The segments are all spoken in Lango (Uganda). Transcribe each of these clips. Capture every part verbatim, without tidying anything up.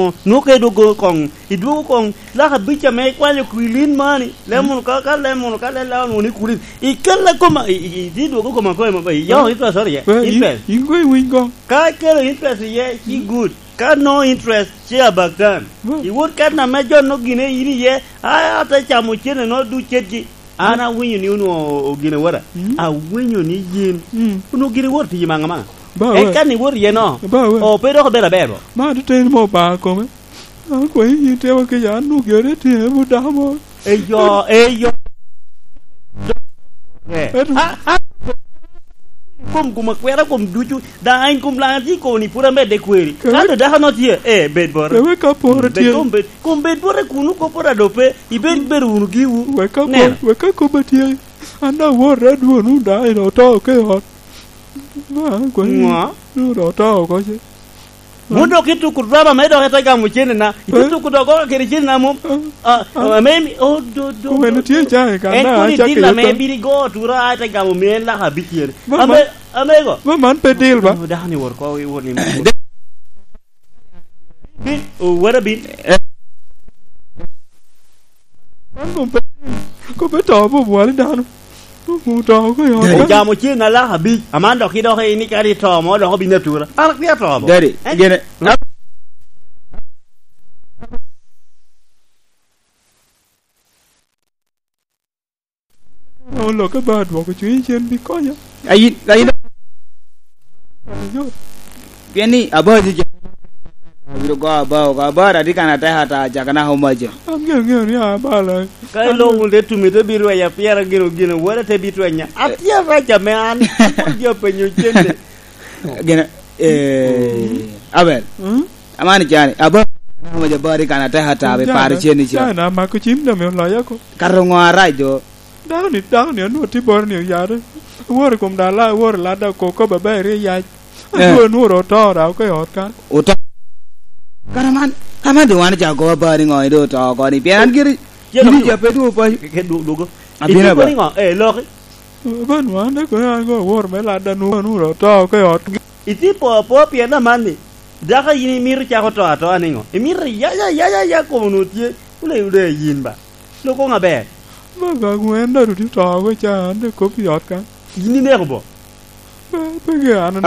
Nwoŋo ka idwogo koŋ, idwogo koŋ lak abic ame ikwanyo kwilin mani, lem wunu ka, ka lem wunu ka lella wunu ni kwilin. Ikella koma, i, i, i, idwogo koma kono ma, i, yo, interest, sorry, eh, interest. In koŋ iwiny koŋ. Ka ikelo interest iye, ci good. Ka no interest, ci abaktan. Iwot kan ame jo no gine in iye, a, ate camo cene no duc cetgi. An awinyo ni onwoŋo ogine wora. Mm. Awinyo ni yin onwoŋo gine wor tiyi maŋa maŋa. Ba we. Eka ni wor iye no. Ba we. O, pe dok obedo aber bo. Ma atuteni mo Obaŋa kome. An kwe yin tewa kica, an onwoŋo gire tye, but dako mo. Eyo, eyo. Eh. Eto. A, a, kom, kom akwera, kom ducu, daŋ en kom laŋa tye i koni pwod amedde kweri. Ka dano no tye, eh, bed bota. Ewe ka poro tye. Bed kom bed, kom bed bota kuno, kop bota do pe, ibed, bed wunu giwu. Wek ka kop, wek ka kop atye, an daŋ aworre adwon, wun daŋ en oto ke i ot. Ŋo? Wun daŋ oto oko ce. Wun dok ituko drama me dok ite gamo cene na. Ite tuko dok goko kede cene na mom. Ah, ah, ame mi, oh, do, do, do, do. Tye cake ka en na, kodi acakki dil ame biri go tura, a, ite gamo me laka abicel. Ame, ame go. Ma man pe dil ba? Oh, dako ni wor ko, wor ni. Bin, oh, wara bin. Man kom pe, kom pe to obwali dano. Oto oko i ot. Dadi. Ojamo cen alaka abic, aman dok idok i ni kadi ito mo dok obin atura. An akwia to mo. Dadi, gene. Olokke ba dwoko cwiny cen bi konya. Ayin, ayin. Ayo. Pien ni abao tye abiro go abao, abao atye kan atek ata, caka naka omaca. An ŋeo, ŋeo ni abalo. Ka iloko wun te tumi, te bi rwenya, pien gin ogin wora te bi twenya. Atye arac ame an, an pwod jo penyo cente. Gin, eh, Abel. Mm? Amani cani, abao, naka omaca abao atye kan atek ata, be paro cen ica. Cana, amako cim dong me oloya ko. Kato ŋo arac do? Dako ni, dako ni onwoŋo tye boro ni oyare. Woro i kom dala, woro lada ko, ko baba iri yac. Eh. Adwo nworo oto daŋ oko i ot kan. Oto. Kara man, kara man doŋ wan ocako goba ni ŋo ni doŋ oto oko ni. Pien an giri, giri ja pe dwogo paco. Ke, ke, dwogo. Abino aba. Ituko ni ŋo? Eh, loki. Aba nwa, an dek kono an go aworo me lada nworo, nworo oto oko i ot. Itye po apo pien amanni. Dako yin imito cako to atoa niŋo? Imito ya, ya, ya, ya, ya, kom onwoŋo tye. Wule, wule yin ba. Loko ŋa ber? Baba, ŋwen dok dudi to oko ca, an dek kop i ot kan. Yin ineko bo? Pe, pe ge an.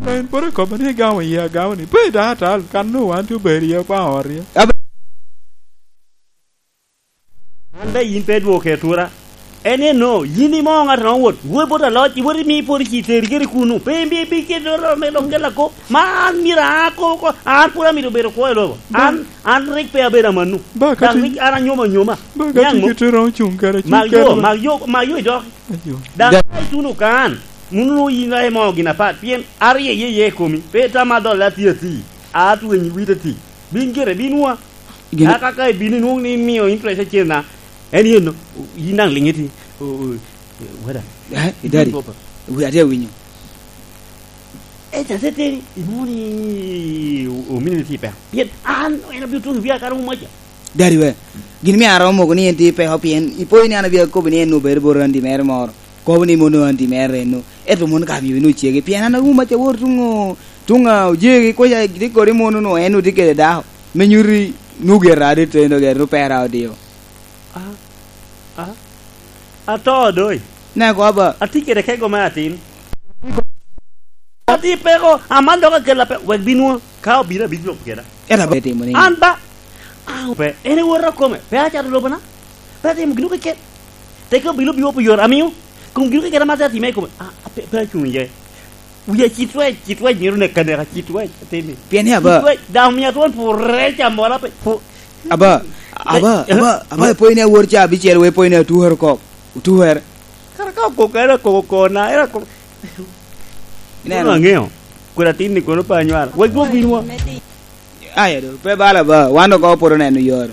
Ka en pwod ekobo ni igamo yie agama ni, pe idako atal, kan onwoŋo wan tye obedo iye opaŋo ot iye. Ab- An daŋ yin pe dwoke atura. En eno, yin imo ŋat ame owot, wot bot aloc, iwot imi pwod ci teri kede kuno. Pe imbi, bi kede oro me dok gela ko. Ma an myero a ko, ko, an pwod amito bedo kwo i lobo. Ba- An, an rik pe abedo amanno. Ba ka Daŋ ti- rik an anyoma anyoma. Ba ka Niaŋ ti mo? Kite romo cuŋ kede, cuŋ Mak kede yo, ba- mak yo, mak yo idok. Ayo. Daŋ Da- ka ituno kan, muno yin daŋ imo gin apat, pien arye ye ye komi. Pe tam adol ati ati. Atweny wit ati. Bin gire, bin wa. Gin- Aka ka ibino inwoŋo ni imio interest acel na, en yen no, yin daŋ liŋ iti, o, o, wada. Eh, Daddy. Wi atye awinyo. E, ca se teni, inwoŋo ni o-, omini ni tye peko. Pien an, en obino tuŋ i wia kara umaca. Daddy we, gin mio aromo moko ni en tye peko, pien ipo ni an abino akobo ni en obedo bot randi mere moro. Kobo ni mono an ti mere eno. Ento mono ka abino bino cege. Pien an awuma ca wor tuŋ o-, tuŋ a ojegi kweca, gidi kodi mono no en otye kede dako. Me nyuti nugi era adi tendo gero pera odio. A, a, ato doi. Ne ko aba. Atye kede kego me atin. Ati peko, aman dok akela pe, wek binwa, ka obino abino lok keda. Ento abe timo ni. An ba, an pe, en ewota kome, pe acato lobona. Pe atimo gino keken. Teke obino biwo pi yore, amiyo. Kom gino keken ama atimo i kome. A, a, pe, pe acuŋ iye. Wiya ci twec, ci twec, myero neka neka, ci twec, ateni. Pien ni aba. Ci twec, daŋ omia twon purre ca mola pe, pu-, Aba, aba, eh, aba, aba, eh. Ipoyo ni awor ca abicel, we ipoyo ni atukere oko. Otukere. Kara ka okoko, era koko kona, era koko. Ineno? Kono aŋeo. Kweda tin ni kono pe anywalo. Wek dwog winwa. Aya do, pe bala ba, wan dok opoto neno yore.